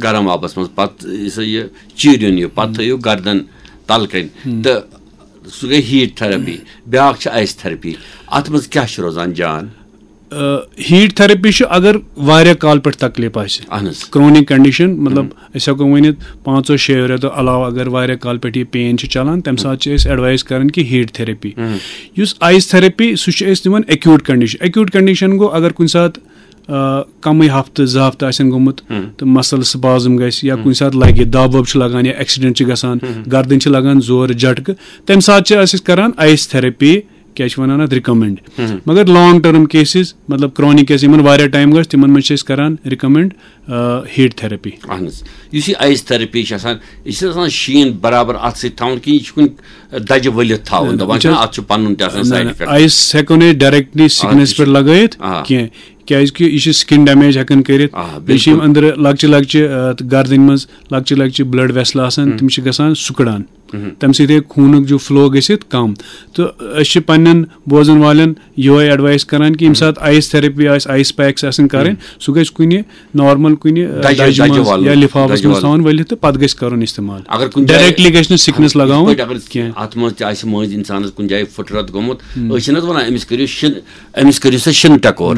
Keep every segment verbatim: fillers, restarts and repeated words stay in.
گرم آبس منٛز، پتہٕ یہِ سا یہِ چیٖرِن یہِ، پتہٕ تھٲیِو گردن تلہٕ کنۍ، تہٕ سُہ گٔے ہیٖٹ تھرپی۔ بیٛاکھ چھِ آیِس تھرپی۔ اتھ منٛز کیٛاہ چھُ روزان جان؟ ہیٖٹ تھرپی چھُ اگر واریاہ کال پٮ۪ٹھ تکلیٖف آسہِ، اہن حظ۔ کرونک کنڈیشن، مطلب أسۍ ہٮ۪کو ؤنِتھ پانٛژو شیٚیو رٮ۪تو علاوٕ اگر واریاہ کال پٮ۪ٹھ یہِ پین چھِ چلان، تمہِ ساتہٕ چھِ أسۍ ایڈوایز کران کہِ ہیٖٹ تھرپی۔ یُس آیِس تھرپی، سُہ چھِ أسۍ دِوان ایکیوٗٹ کنڈیشن۔ ایکیوٗٹ کنڈیشن گوٚو اگر کُنہِ ساتہٕ آ، کمٕے ہفتہٕ زٕ ہفتہٕ آسن گوٚمُت تہٕ مسل سپازم گژھِ یا کُنہِ ساتہٕ لگہِ دب وب چھُ لگان یا ایکسیڈنٹ چھُ گژھان، گردن چھِ لگان زورٕ جھٹکہٕ، تمہِ ساتہٕ چھِ أسۍ کران آیِس تھرپی، کیٛاہ چھِ ونان اتھ، ریکمنڈ۔ مگر لانگ ٹرم کیسز، مطلب کرونک کیس، یِمن واریاہ ٹایم گژھِ، تِمن منٛز چھِ أسۍ کران ریکمنڈ ہیٖٹ تھرپی۔ اہن حظ۔ یُس یہِ آیِس تھرپی چھِ آسان، یہِ چھِ آسان شیٖن برابر اتھ سۭتۍ تھاوُن کِنہٕ یہِ چھُ کُنہِ دجہِ ؤلِتھ تھاوُن؟ دپان چھِنہ، اتھ چھُ پنُن تہِ آسان سایڈ افیکٹ۔ آیِس ہٮ۪کو نہٕ أسۍ ڈایریکٹلی سکنس پٮ۪ٹھ لگٲیِتھ آ۔ کینٛہہ، کیازِ کہِ یہِ چھِ سکن ڈیمیج ہٮ۪کان کٔرِتھ۔ آ، بیٚیہِ چھِ یِم أنٛدرٕ لۄکچہِ لۄکچہِ، آ، گردنہِ منٛز لۄکچہِ لۄکچہِ بلڈ ویسل آسان، تِم چھِ گژھان سُکڑان۔ تمہِ سۭتۍ ہیٚکہِ خوٗنُک جو فلو گٔژھِتھ کم۔ تہٕ أسۍ چھِ پننٮ۪ن بوزن والٮ۪ن یِہوے ایڈوایس کران کہِ ییٚمہِ ساتہٕ آیِس تھرپی آسہِ، آیِس پیکس آسن کرٕنۍ، سُہ گژھِ کُنہِ نارمل کُنہِ، آ، دجہِ، دجہِ دجہِ منٛز والُن، یا لفافس دجہِ منٛز والُن۔ تھاوُن ؤلِتھ تہٕ پتہٕ گژھِ کرُن استعمال۔ اگر کُنہِ جایہِ ڈایریکٹلی گژھِ نہٕ سکنس لگاوُن یِتھ پٲٹھۍ اگر کینٛہہ۔ اتھ منٛز تہِ آسہِ مٔنٛزۍ انسانس کُنہِ جایہِ پھٕٹرتھ گوٚمُت، أسۍ چھِنہٕ حظ ونان أمِس کٔرِو شِن، أمِس کٔرِو سا شِنہٕ ٹکور۔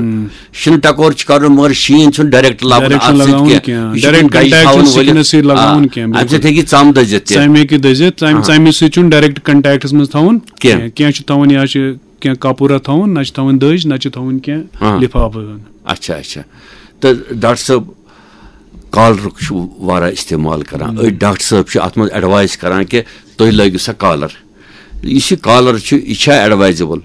شِنہٕ ٹکور چھُ کرُن، مگر شیٖن چھُنہٕ ڈایریکٹ لاگُن ڈایریکٹ اتھ چھُنہٕ سۭتۍ لگاوُن کینٛہہ۔ کینٛہہ۔ یہِ چھُ ڈایریکٹ کُنہِ دجہِ کنٹیکٹ تھاوُن چھُ سِکنس ؤلِتھ۔ سۭتۍ لگاوُن آ، کینٛہہ، امہِ بِلکُل۔ سۭتۍ ہیٚکہِ ژم دٔزِتھ تہِ۔ ژمہِ ہیٚکہِ دٔزِتھ، ژمہِ، آ۔ ژمہِ سۭتۍ چھُنہٕ ڈایریکٹ کنٹیکٹس منٛز تھاوُن کینٛہہ۔ کینٛہہ۔ کینٛہہ چھُ تھاوُن یا چھِ کینٛہہ کپورہ تھاوُن، نہ چھِ تھاوُن دٔج، نہ چھِ تھاوُن کینٛہہ آ۔ لفافہٕ۔ اچھا اچھا۔ تہٕ ڈاکٹر صٲب، کالرُک چھُ واریاہ استعمال کران۔ أڑۍ ڈاکٹر صٲب چھِ اتھ منٛز ایڈوایس کران کہِ تُہۍ لٲگِو سا کالر۔ یُس یہِ کالر چھُ، یہِ چھا ایڈوایزیبل؟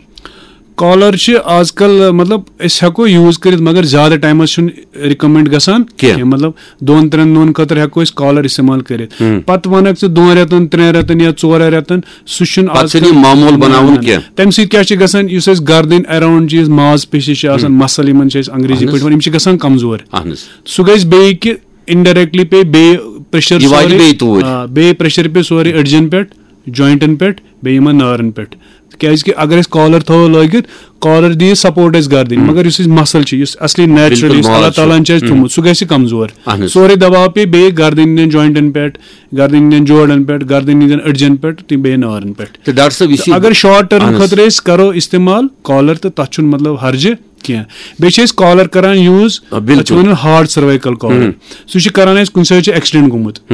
کالر چھِ آز کل، مطلب، أسۍ ہٮ۪کو یوٗز کٔرِتھ، مگر زیادٕ ٹایمس چھُنہٕ ریکمنڈ گژھان کینٛہہ۔ مطلب، دۄن ترٛٮ۪ن دۄہن خٲطرٕ ہٮ۪کو أسۍ کالر استعمال کٔرِتھ۔ پتہٕ ونکھ ژٕ دۄن رٮ۪تن، ترٛٮ۪ن رٮ۪تن یا ژورن رٮ۪تن، سُہ چھُنہٕ پتہٕ آز چھُنہٕ کل یہِ معموٗل نہ، بناوُن نہ، نہ۔ کینٛہہ۔ تمہِ سۭتۍ کیٛاہ چھُ گژھان؟ یُس اَسہِ گردٕنۍ اراوُنڈ چھِ، یُس ماز پیشی چھِ آسان، مسل یِمن چھِ أسۍ انگریزی پٲٹھۍ ونان، یِم چھِ گژھان کمزور۔ اہن حظ۔ سُہ گژھِ بیٚیہِ کہِ انڈایریکٹلی پیٚیہِ بیٚیہِ پریشر یہِ واتہِ سورُے۔ بیٚیہِ توٗرۍ۔ آ، بیٚیہِ پریشر پیٚیہِ سورُے أڈجن پٮ۪ٹھ، جوینٹن پٮ۪ٹھ، بیٚیہِ یِمن نارن پٮ۪ٹھ۔ کیازِ کہِ اگر أسۍ کالر تھاوو لٲگِتھ، کالر دِیہِ سپورٹ اَسہِ گردٕنۍ، مگر یُس اَسہِ مسل چھُ، یُس اصلی نیچرلی بِلکُل یُس ماز اللہ چھُ۔ تعالیٰ ہن چھُ اَسہِ تھوٚومُت، سُہ گژھِ کمزور۔ اہن حظ۔ سورُے دباو پیٚیہِ بیٚیہِ گردٕنۍ ہٕنٛدٮ۪ن جوینٹن پٮ۪ٹھ، گردٕنۍ ہٕنٛدٮ۪ن جوڑن پٮ۪ٹھ، گردٕنۍ ہٕنٛدٮ۪ن أڈجن پٮ۪ٹھ تہٕ بیٚیہِ نارن پٮ۪ٹھ۔ تہٕ ڈاکٹر صٲب، یُس یہِ اگر شارٹ ٹرم اہن حظ۔ خٲطرٕ أسۍ کرو استعمال کالر، تہٕ تتھ چھُنہٕ مطلب ہرجہِ کینٛہہ۔ بیٚیہِ چھِ أسۍ کالر کران یوٗز، آ، بِلکُل۔ تتھ چھِ ونان ہارٹ سروائیکل کالر۔ سُہ چھِ کران أسۍ کُنہِ ساتہٕ چھُ ایکسیڈنٹ گوٚمُت،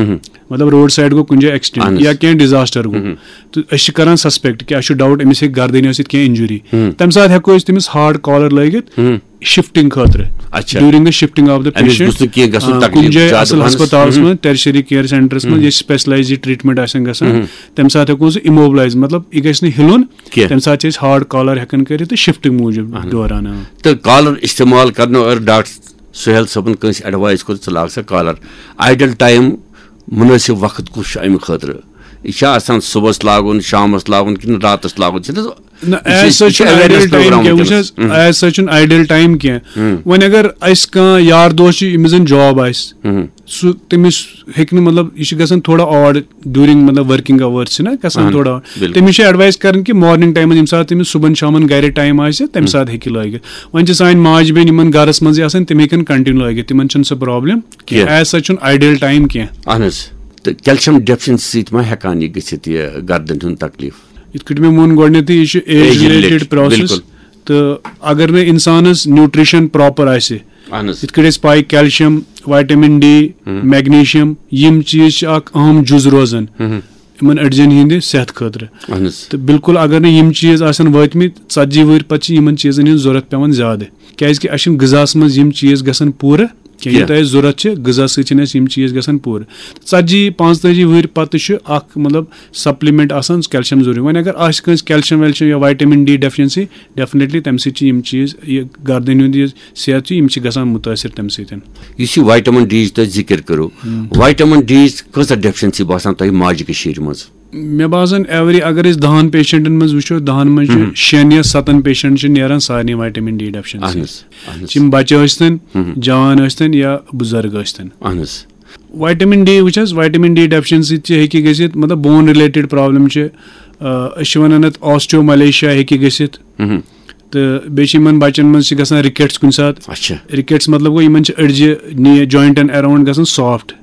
مطلب روڈ سایڈ گوٚو کُنہِ جایہِ ایکسیڈنٹ اہن حظ۔ یا کینٛہہ ڈیزاسٹر گوٚو، تہٕ أسۍ چھِ کران سسپیکٹ کہِ اَسہِ چھُ ڈاوٹ أمِس ہیٚکہِ گردنہِ ٲسِتھ کینٛہہ انجری۔ تمہِ ساتہٕ ہٮ۪کو أسۍ تٔمِس ہارٹ کالر لٲگِتھ شفٹنگ خٲطرٕ، اچھا۔ during the shifting of the أمِس patient۔ گوٚژھ نہٕ کینٛہہ گژھُن آ، تکلیٖف کُنہِ جایہِ زیادٕ اصل پہنَس۔ ہسپتالس منٛز، ٹیرشری کیئر سینٹرس منٛز، ییٚتہِ سپیشلائزڈ ٹریٹمنٹ آسن گژھان، تمہِ ساتہٕ ہٮ۪کو سُہ اِموبلائز، مطلب یہِ گژھِ نہٕ ہِلُن، کینٛہہ۔ تمہِ ساتہٕ چھِ أسۍ ہارٹ کالر ہٮ۪کان کٔرِتھ تہٕ شفٹنگ موٗجوٗب دوران۔ آ۔ تہٕ کالر استعمال کرنہٕ اور ڈاکٹر سہیل صٲبن کٲنٛسہِ ایڈوایس کوٚر، ژٕ لاگ سا کالر۔ آیڈل ٹایم، مُنٲسِب وقت کُس چھُ امہِ خٲطرٕ؟ یہِ چھا آسان صُبحس لاگُن، شامس لاگُن کِنہٕ راتس لاگُن؟ چھِ نہ، نہ، یہِ چھِ، ایز سچ یہِ چھِ چھُنہٕ awareness آیڈل ٹایم program کینٛہہ۔ وٕنکیٚنَس۔ وٕچھ حظ، ایز سچ چھُنہٕ آیڈل ٹایم کینٛہہ۔ وۄنۍ اگر اسہِ کانٛہہ یار دوست چھُ، ییٚمِس زن جاب آسہِ، سُہ تٔمِس ہیٚکہِ نہٕ، مطلب، یہِ چھُ گژھان تھوڑا آڈ ڈیورنگ، مطلب، ورکنگ آورس چھِ نہ گژھان تھوڑا آڈ۔ تٔمِس چھِ ایڈوایس کران کہِ مارننگ ٹایمس، ییٚمہِ ساتہٕ تٔمِس صُبحن شامن گرِ ٹایم آسہِ، تمہِ ساتہٕ ہیٚکہِ یہِ لٲگِتھ۔ وۄنۍ چھِ سانہِ ماجہِ بیٚنہِ یِمن گرس منٛزٕے آسان، تِم ہیٚکن کنٹِنیو لٲگِتھ، تِمن چھُنہٕ سُہ پرابلم کینٛہہ۔ کینٛہہ۔ ایز سچ چھُنہٕ آیڈل ٹایم کینٛہہ۔ اہن حظ۔ تہٕ کیلشیم ڈیفیشنسی سۭتۍ ما ہٮ۪کان یہِ گٔژھِتھ، یہِ گردن ہُنٛد تکلیٖف؟ یِتھ کٲٹھۍ مےٚ ووٚن گۄڈٕنیتھٕے، یہِ چھُ age age related, related process. بِلکُل۔ تہٕ اگر نہٕ انسانس نیوٗٹریشن پراپر آسہِ، اہن حظ۔ یِتھ کٲٹھۍ أسۍ پاے کیلشیم، وایٹمن ڈی، میگنیشیم، یِم چیٖز چھِ اکھ اہم جُز روزان یِمن أڈجن ہٕنٛدِ صحت خٲطرٕ۔ اہن حظ۔ تہٕ بالکل اگر نہٕ یِم چیٖز آسن وٲتمٕتۍ ژتجی وٕہٕرۍ پتہٕ، چھِ یِمن چیٖزن ہٕنٛز ضروٗرت پٮ۪وان زیادٕ، کیازِ کہِ اَسہِ چھِنہٕ غذاہس منٛز یِم چیٖز گژھان پوٗرٕ کینٛہہ، یہِ کینٛہہ۔ تۄہہِ ضروٗرت چھِ، غذا سۭتۍ چھِنہٕ اَسہِ یِم چیٖز گژھان پوٗرٕ۔ ژتجی پانٛژتٲجی وٕہٕرۍ پتہٕ چھُ اکھ، مطلب، سپلمنٹ آسان کیلشیم ضروٗری۔ وۄنۍ اگر آسہِ کٲنٛسہِ کیلشیم ویلشیم یا وایٹمن ڈی ڈیفیشنسی، ڈیفینیٹلی تمہِ سۭتۍ چھِ یِم چیٖز، یہِ گردن ہُنٛد یہِ صحت چھُ، یِم چھِ گژھان مُتٲثر تَمہِ سۭتۍ۔ یُس یہِ وایٹمن ڈی یِچ تۄہہِ ذِکِر کٔرٕو، وایٹمن ڈی یِچ کۭژاہ ڈیفیشنسی باسان تۄہہِ ماجہِ کٔشیٖرِ منٛز؟ مےٚ باسان ایوری اگر أسۍ دَہَن پیشنٹن منٛز وٕچھو، دَہَن منٛز چھِ شٮ۪ن یا سَتَن پیشنٹ چھِ نیران سارنٕے وایٹمن ڈی ڈیفیشنسی۔ اہن حظ، اہن حظ۔ چھِ یِم بچہِ ٲسۍتن، جوان ٲسۍتن یا بُزرگ ٲسۍتن۔ اہن حظ۔ وایٹمن ڈی وٕچھ حظ، وایٹمن ڈی ڈیفیشنسی تہِ ہیٚکہِ گٔژھِتھ، مطلب بون رِلیٹڈ پرابلم چھِ، آ، أسۍ چھِ وَنان اَتھ آسٹیوملیشیا ہیٚکہِ گٔژھِتھ۔ تہٕ بیٚیہِ چھِ یِمن بچن منٛز چھِ گژھان رِکیٹس کُنہِ ساتہٕ۔ اچھا۔ رِکیٹس مطلب گوٚو، یِمن چھِ أڈجہِ نی جوینٹن اراوُنڈ گژھان سافٹ۔